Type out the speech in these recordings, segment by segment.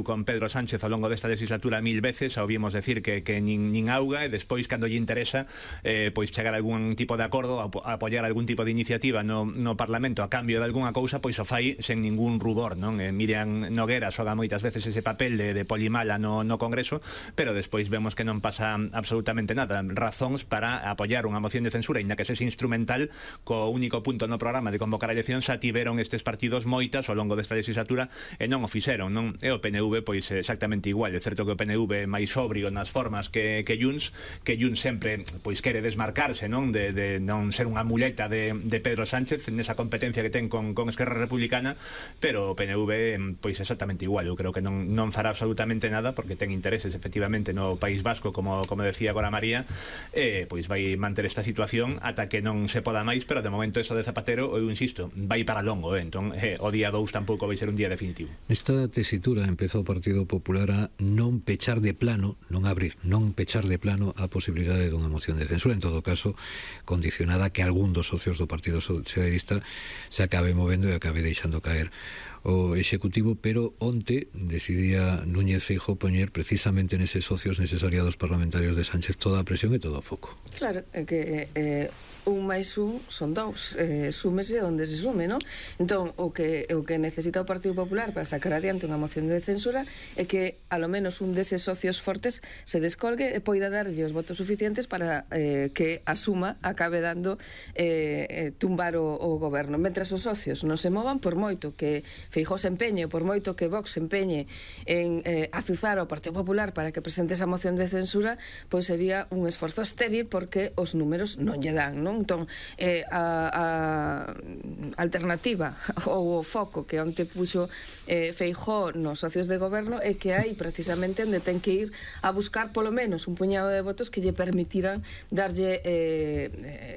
con Pedro Sánchez ao longo desta legislatura 1000 veces, ouvimos decir que nin auga, e despois, cando lle interesa, pois chegar a algún tipo de acordo, a apoiar algún tipo de iniciativa no Parlamento a cambio de algunha cousa, pois o fai sen ningún rubor, non? Miriam Noguera xoga moitas veces ese papel de polimala no Congreso, pero despois vemos que non pasa absolutamente nada. Razóns para apoiar unha moción de censura, inda que sexe instrumental, co único punto no programa de convocar a elección, xa tiveron estes partidos moitas ao longo desta legislatura e non o fixeron, non? E o PNV pois exactamente igual. É certo que o PNV é máis sobrio nas formas que Junts sempre pois quere desmarcarse, non, de non ser unha muleta de Pedro Sánchez nesa competencia que ten con Esquerra Republicana, pero o PNV pois exactamente igual. Eu creo que non fará absolutamente nada, porque ten intereses efectivamente no País Vasco, como decía agora María, pois vai manter esta situación ata que non se poda máis, pero de momento eso de Zapatero, eu insisto, vai para longo, entón o día 2 tampouco vai ser un día definitivo. Nesta tesitura empezou o Partido Popular a non pechar de plano, non abrir, non pechar de plano a posibilidade dunha moción de censura, en todo caso condicionada a que algún dos socios do Partido Socialista se acabe movendo e acabe deixando caer o Executivo, pero onte decidía Núñez Feijóo poñer precisamente neses socios, neses aliados parlamentarios de Sánchez, toda a presión e todo o foco. Claro, é que un máis un son dous, súmese onde se sume, non? Entón, o que necesita o Partido Popular para sacar adiante unha moción de censura é que, alo menos, un deses socios fortes se descolgue e poida darlle os votos suficientes para que a suma acabe dando tumbar o goberno. Mentras os socios non se movan, por moito que Feijóo se empeñe, por moito que Vox se empeñe en azuzar ao Partido Popular para que presente esa moción de censura, pois sería un esforzo estéril, porque os números non lle dan, non? Entón, a alternativa ou o foco que onte puxo Feijóo nos socios de goberno é que hai precisamente onde ten que ir a buscar polo menos un puñado de votos que lle permitiran darlle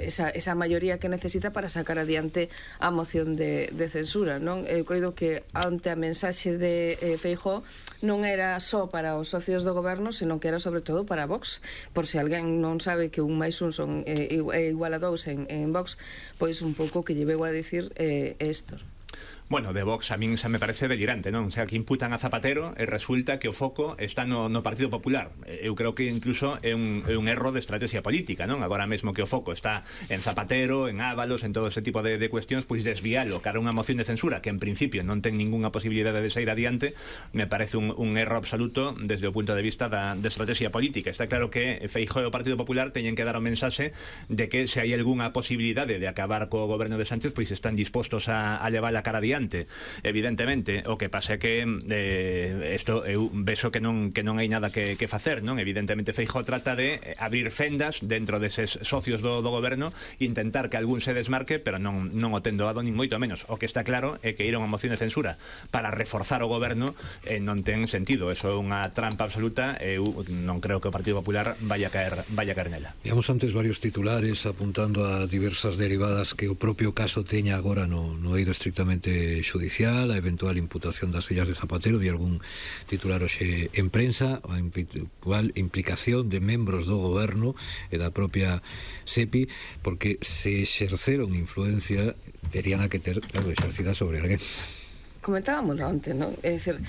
esa maioría que necesita para sacar adiante a moción de censura, non? Eu coido que ante a mensaxe de Feijóo non era só para os socios do goberno, senón que era sobre todo para Vox, por se alguén non sabe que un máis un son igual a dous en Vox, pois un pouco que lle veu a dicir Héctor. Bueno, de Vox a min xa me parece delirante, non? O sea, que imputan a Zapatero e resulta que o foco está no Partido Popular. Eu creo que incluso é un erro de estrategia política, non? Agora mesmo que o foco está en Zapatero, en Ábalos, en todo ese tipo de cuestións, pois desvialo cara a unha moción de censura que en principio non ten ninguna posibilidade de sair adiante, me parece un erro absoluto desde o punto de vista de estrategia política. Está claro que Feijóo e o Partido Popular teñen que dar o mensaxe de que se hai algunha posibilidade de acabar co goberno de Sánchez, pois están dispostos a levar a cara adiante. Evidentemente, o que pasa é que isto eu vexo que non hai nada que facer, non? Evidentemente Feijóo trata de abrir fendas dentro deses socios do goberno e intentar que algún se desmarque, pero non o ten doado nin moito menos. O que está claro é que ir a unha moción de censura para reforzar o goberno non ten sentido. Eso é unha trampa absoluta. Eu non creo que o Partido Popular vaya a caer nela. Digamos antes varios titulares apuntando a diversas derivadas que o propio caso teña agora no eido estrictamente judicial, a eventual imputación das fillas de Zapatero, de algún titular hoxe en prensa, a eventual implicación de membros do goberno e da propia SEPI, porque se exerceron influencia terían a que ter, claro, exercida sobre alguén. Comentábamoslo antes, non? É dicir,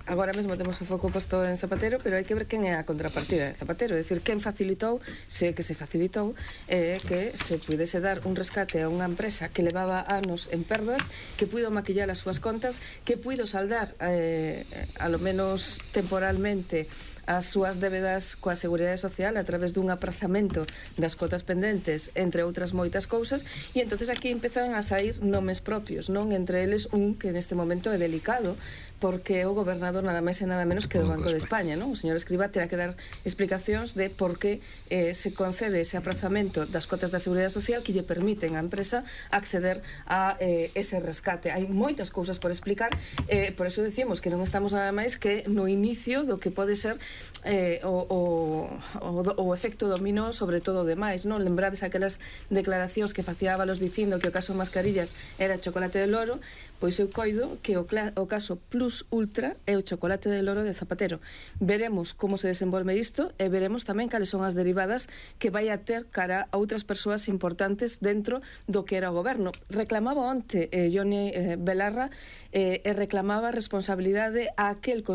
agora mesmo temos o foco posto en Zapatero, pero hai que ver quen é a contrapartida de Zapatero, é dicir, quen facilitou, se que se facilitou, que se pudese dar un rescate a unha empresa que levaba anos en perdas, que puido maquillar as súas contas, que puido saldar, a lo menos temporalmente, as súas débedas coa Seguridade Social a través dun aprazamento das cotas pendentes, entre outras moitas cousas, e entonces aquí empezan a sair nomes propios, non? Entre eles un que neste momento é delicado, porque o gobernador nada máis e nada menos que do Banco de España, non? O señor Escrivá terá que dar explicacións de por que se concede ese aprazamento das cotas da Seguridade Social que lle permiten á empresa acceder a ese rescate. Hai moitas cousas por explicar, por eso decimos que non estamos nada máis que no inicio do que pode ser o efecto dominó sobre todo o demais, non? Lembrades aquelas declaracións que facía Ábalos dicindo que o caso Mascarillas era chocolate de loro, pois eu coido que o caso Plus Ultra é o chocolate de loro de Zapatero. Veremos como se desenvolve isto e veremos tamén cales son as derivadas que vai a ter cara a outras persoas importantes dentro do que era o goberno. Reclamaba onte Joni Belarra e reclamaba responsabilidade a aquel